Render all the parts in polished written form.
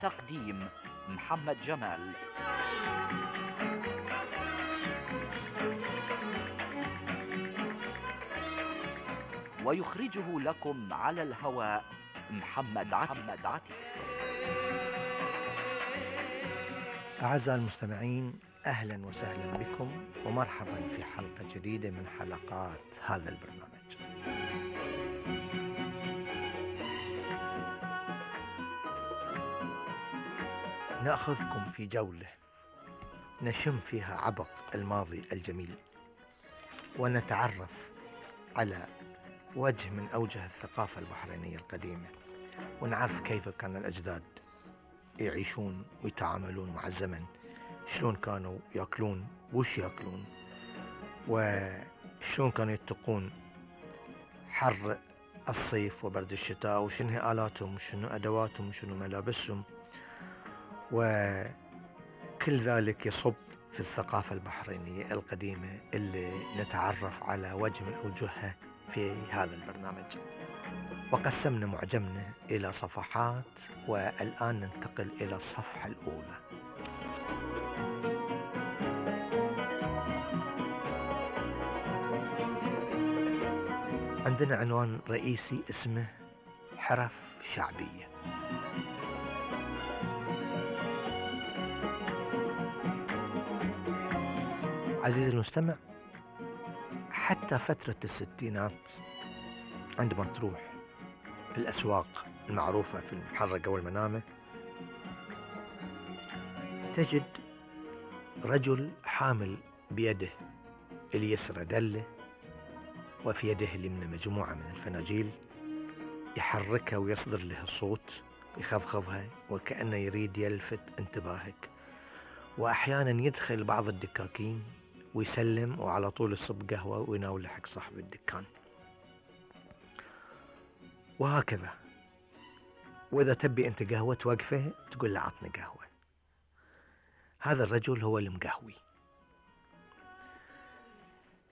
تقديم محمد جمال. ويخرجه لكم على الهواء محمد عتيق. أعزائي المستمعين، أهلا وسهلا بكم ومرحبا في حلقة جديدة من حلقات هذا البرنامج. نأخذكم في جولة نشم فيها عبق الماضي الجميل، ونتعرف على وجه من أوجه الثقافة البحرينية القديمة، ونعرف كيف كان الأجداد يعيشون ويتعاملون مع الزمن، شلون كانوا يأكلون وش يأكلون، وشلون كانوا يتقون حر الصيف وبرد الشتاء، وشنو هي آلاتهم وشنو أدواتهم وشنو ملابسهم، وكل ذلك يصب في الثقافة البحرينية القديمة اللي نتعرف على وجه من أوجهها في هذا البرنامج. وقسمنا معجمنا إلى صفحات، والآن ننتقل إلى الصفحة الأولى. عندنا عنوان رئيسي اسمه حرف شعبية. عزيزي المستمع، حتى فترة الستينات عندما تروح في الأسواق المعروفة في المحرقة والمنامة تجد رجل حامل بيده اليسرى دلة، وفي يده اليمنى مجموعة من الفناجيل، يحركها ويصدر له الصوت، يخفخفها وكأنه يريد يلفت انتباهك. وأحيانا يدخل بعض الدكاكين ويسلم وعلى طول يصب قهوة ويناول حق صاحب الدكان، وهكذا. وإذا تبي أنت قهوة توقفه تقول له عطني قهوة. هذا الرجل هو المقهوي.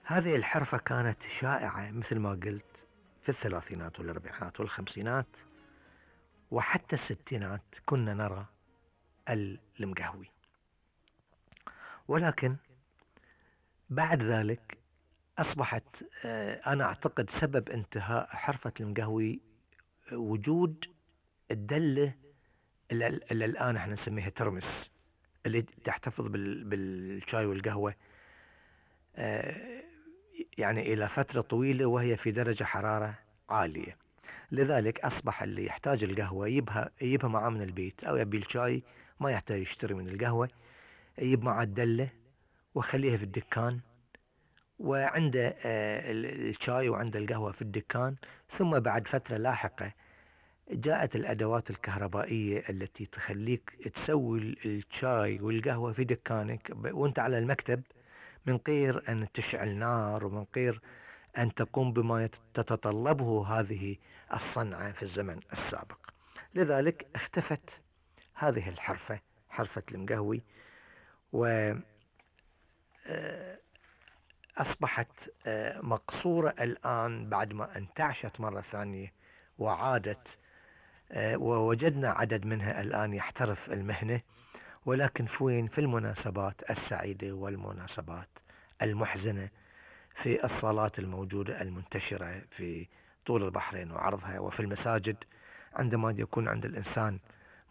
هذه الحرفة كانت شائعة مثل ما قلت في الثلاثينات والأربعينات والخمسينات، وحتى الستينات كنا نرى المقهوي. ولكن بعد ذلك أصبحت أنا أعتقد سبب انتهاء حرفة المقهوي وجود الدلة اللي الآن احنا نسميها ترمس، اللي تحتفظ بالشاي والقهوة يعني إلى فترة طويلة وهي في درجة حرارة عالية. لذلك أصبح اللي يحتاج القهوة يجيبها معه من البيت، أو يبي الشاي ما يحتاج يشتري من القهوة، يجيب معه الدلة وخليها في الدكان، وعنده الشاي وعنده القهوة في الدكان. ثم بعد فترة لاحقة جاءت الأدوات الكهربائية التي تخليك تسوي الشاي والقهوة في دكانك وانت على المكتب، من غير أن تشعل نار ومن غير أن تقوم بما تتطلبه هذه الصنعة في الزمن السابق. لذلك اختفت هذه الحرفة، حرفة المقهوي، أصبحت مقصورة الآن بعد ما انتعشت مرة ثانية وعادت، ووجدنا عدد منها الآن يحترف المهنة، ولكن في المناسبات السعيدة والمناسبات المحزنة، في الصالات الموجودة المنتشرة في طول البحرين وعرضها، وفي المساجد عندما يكون عند الإنسان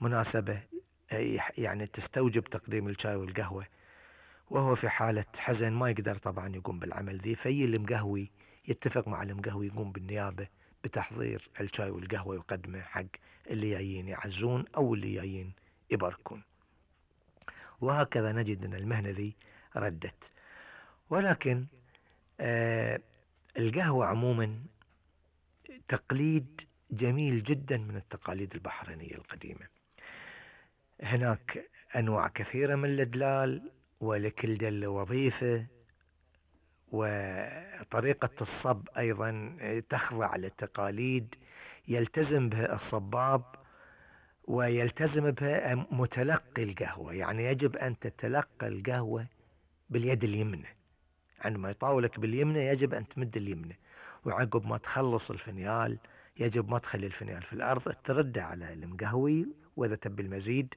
مناسبة يعني تستوجب تقديم الشاي والقهوة وهو في حالة حزن ما يقدر طبعا يقوم بالعمل ذي، في المقهوي يتفق مع المقهوي يقوم بالنيابة بتحضير الشاي والقهوة ويقدمه حق اللي جايين يعزون أو اللي جايين يباركون. وهكذا نجد أن المهنة ذي ردت. ولكن القهوة عموما تقليد جميل جدا من التقاليد البحرينية القديمة. هناك أنواع كثيرة من الأدلال، ولكل دلة وظيفة، وطريقة الصب أيضا تخضع للتقاليد يلتزم بها الصباب ويلتزم بها متلقي القهوة. يعني يجب أن تتلقى القهوة باليد اليمنى، عندما يطاولك باليمنى يجب أن تمد اليمنى، وعقب ما تخلص الفنيال يجب ما تخلي الفنيال في الأرض، ترده على المقهوي، وإذا تبي المزيد